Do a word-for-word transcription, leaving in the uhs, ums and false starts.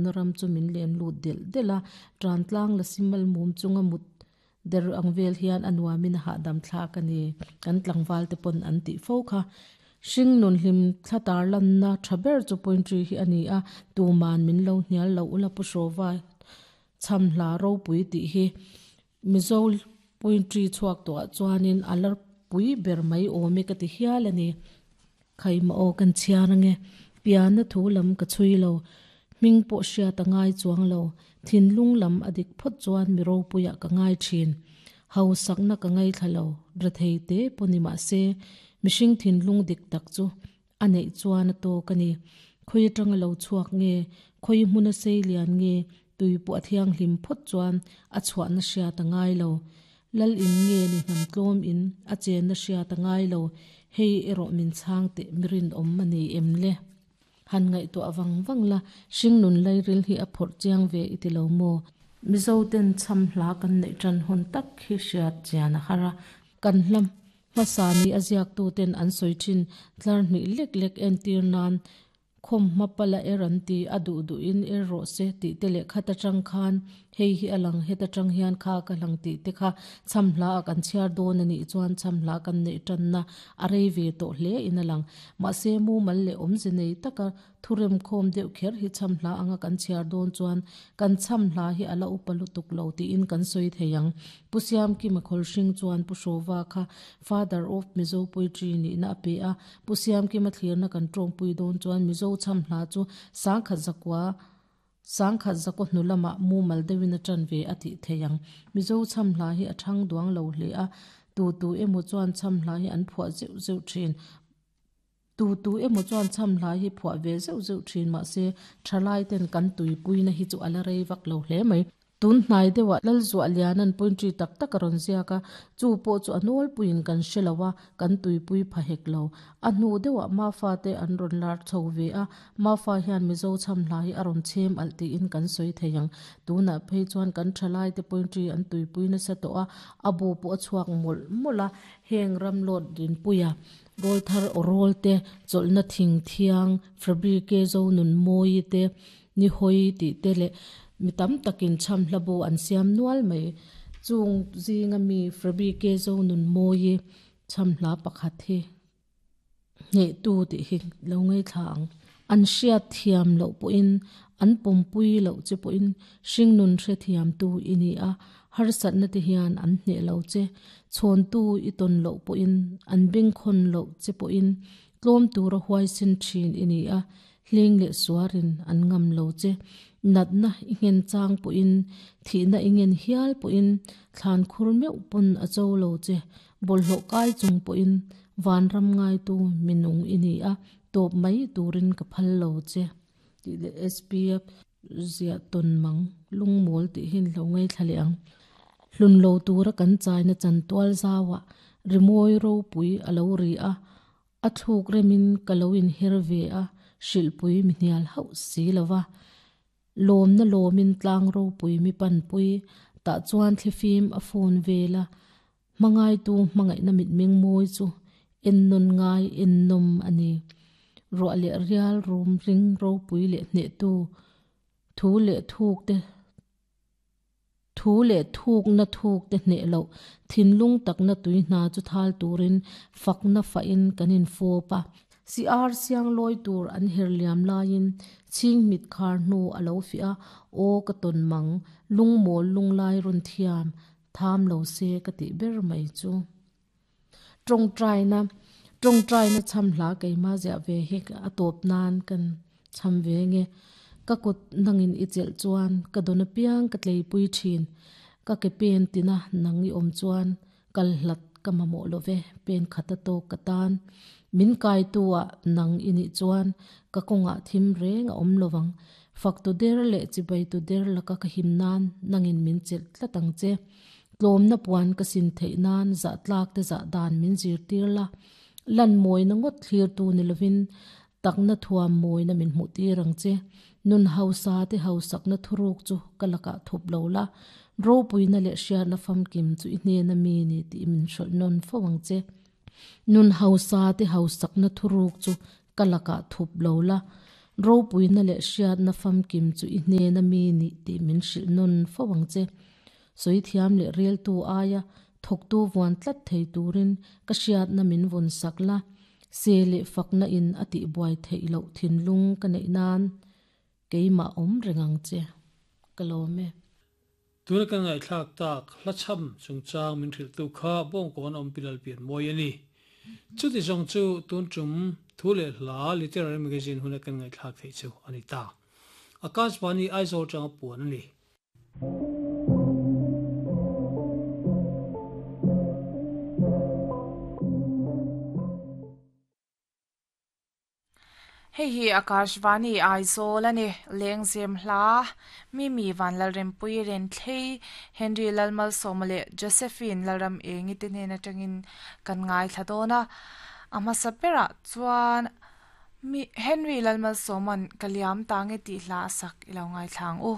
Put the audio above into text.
Na ram chu min len lut delh delh a, tan tlang la simal mum chunga mut der ang vel hian a nuamin a hahdam thlak a ni. Kan tlangval te pawn an tih fo kha. Hring nun hlim thla tar lanna tha ber chu poetry hi a ni a, tuman min lo hnial lo ula Pu Hrawva cham hla ropui tih hi Mizo poetry chhuak tawhah chuanin a la pui ber mai awm e ka ti hial a ni. Khaima aw kan chhiar ange. Pianna thu lam ka chhui lo. Hming pawh hriat a ngai chuang lo. Thinlung lam a dik phawt chuan mi ropuiah ka ngai thin. Hausakna ka ngaithla lo. Rethei te pawh ni mah se, mihring thinlung dik tak chu a neih chuan a tawk a ni. Khawi atanga lo chhuak nge, khawi hmuna sei lian nge, tui pawh a thianghlim phawt chuan a chhuahna hriat a ngai lo. Lal in nge ni hnam tlawm in a chenna hriat a ngai lo. Hei erawh min chhang teh mi rinawm a ni em le? Han ngaihtuah vang vang la, hring nun lairil hi a phawrh chiang ve i ti lo maw? Mizo ten cham hla kan neih tan hun tak hi hriat chian a har a. Kan hla hmasa ni a ziaktu ten an sawi thin tlar hnih lek lek entir nan khawm hma pala er an ti, a duh duhin er rawh se tih te leh khat atang khan hei hi a lang, het atang hian kha ka lang tih te kha cham hla a kan chhiar dawn a nih chuan cham hla kan neih tanna a rei ve tawh hle in a lang. Mahse mumal leh awmze nei taka thurem khawm deuh kher hi cham hla anga kan chhiar dawn chuan kan cham hla hi a la upa lutuk lo tiin kan sawi thei ang. Pu Siamkima Khawlhring chuan Pu Hrawva kha Father of Mizo Poetry nihna a pe a. Pu Siamkima thlirna kan tawngpui dawn chuan Mizo cham hla chu sangkhat zakua sangkhat zakaw hnu lamah mumal deuhin a tan ve a tih thei ang. Mizo cham hla hi a thang duang lo hle a, tu tu emaw chuan cham hla hi an phuah zeuh zeuh thin. Tu tu emaw chuan cham hla hi phuah ve zeuh zeuh thin mahse thalai ten kan tuipuina hi chu a la rei vak lo hle mai. Tun hnai deuhah Lalzuah Lianan poetry tak tak a rawn ziak a, chu pawh chu a nawlpuiin kan hre lo a, kan tuipui pha hek lo. A hnu deuhah Mafa te an rawn lar chho ve a, Mafa hian Mizo cham hla hi a rawn chhem alh tiin kan sawi thei ang. Tunah phei chuan kan thalai te poetry an tuipui nasa tawh a, a bu pawh a chhuak mawlh mawlh a, heng ram lawt rinpuia rawlthar aw rawl te, chawlhna thing thiang, Fabrike zo nun mawi te, ni hawi tih te leh mi tam takin cham hla bu an siam nual mai. Chung zinga mi Fabrike zo nun mawi cham hla pakhat hi hneh tu tih hi lo ngai thla ang. An hriat thiam loh pawhin an pawmpui loh che pawhin hring nun hre thiam tu i ni a, harsatna te hian an hneh lo che. Chhawn tu i tawn loh pawhin an bengkhawn loh che pawhin tlawm tura huaisin thin i ni a, hling leh suarin an ngam lo che. Natna i nghen chang pawhin thihna i ngen hial pawhin thlan khur meuh pawn a cho lo che. Bawlhhlawh kai chung pawhin vanram ngai tu minung i ni a, tawp mai turin ka phal lo che. Tih leh S P F ziah tawn mang lungmawl tih hi lo ngai thla leh ang. Hlun lo tura kan chaina chan tual zauah rimawi ropui a lo ri a, a thluk remin ka lo inher ve a, hrilhpui mi hnial hauh si lova. Lawmna lawmin tlang ropui mi panpui, tah chuan thlifim a phone vela, hmangai tu hmangaihna mit meng mawi chu en nawn ngai en nawm a ni. Ruah leh rial rum ring ropui leh hneh tu thu leh thuk te thu leh thuk na thuk te hneh loh thinlung takna tui hna chu thal turin fakna fa in kan in fawp a. Si ar siang lawi tur an her liam laiin chhing mit khar hnu a lo fi a, aw ka tawn mang lungmawl lunglai rawn thiam tham lo se ka tih ber mai chu. Tawngtaina tawngtaina cham hla keima ziah ve hi a tawp nan kan cham ve nge. Ka kut nangin i chelh chuan ka dawn apiang ka tleipui thin. Ka ke pen tina nang i awm chuan kal hlat ka mamawh lo ve pen khat a tawk ka tan. Min kai tu ah nang i nih chuan ka kawngah thim reng a awm lovang. Fak tu der leh chibai tu der laka ka him nan nangin min chelh tlat ang che. Tlawmna puan ka sin theih nan zah tlak te zah dan min zir tir la. Lan mawina ngawt thlir tu ni lovin takna thuam mawina min hmuh tir ang che. Nun hausa te hausakna thuruk chu ka lakah thup lo la. Ropuina leh hriatna famkim chu i hnena mi ni tih min hrawlh nawn fo ang che. Nun hausa te hausakna thuruk chu ka lakah thup lo la. Ropuina leh hriatna famkim chu i hnena mi ni tih min hrilh nawn fo ang che. Sawi thiam leh reltu aia thawktu vuan tlat thei turin ka hriatna min vawn sak la. Se leh fakna in a tihbuai theih loh thinlung ka neih nan keimah awm reng ang che. Ka lawm e. Tuna kan ngaihthlak tak hla chham chungchang min hrilhtu kha Bawngkawn awm pi Lalpianmawi a ni. Chuti zawng chu tun tum thu leh hla Literary Magazine huna kan ngaihthlak theih chu a ni ta. Akashvani Aizawl tanga puan a ni. Hei hi Akashvani Aizawl a ni. Lengzem hla Mimi Vanlalrempui Renthlei Henry Lalmalsawma leh Josephine Lalram Engi te hnen atangin kan ngaithla dawn a. A hmasa berah chuan mi Henry Lalmalsawman ka liam ta nge tih hla a sak i lo ngaithla ang u.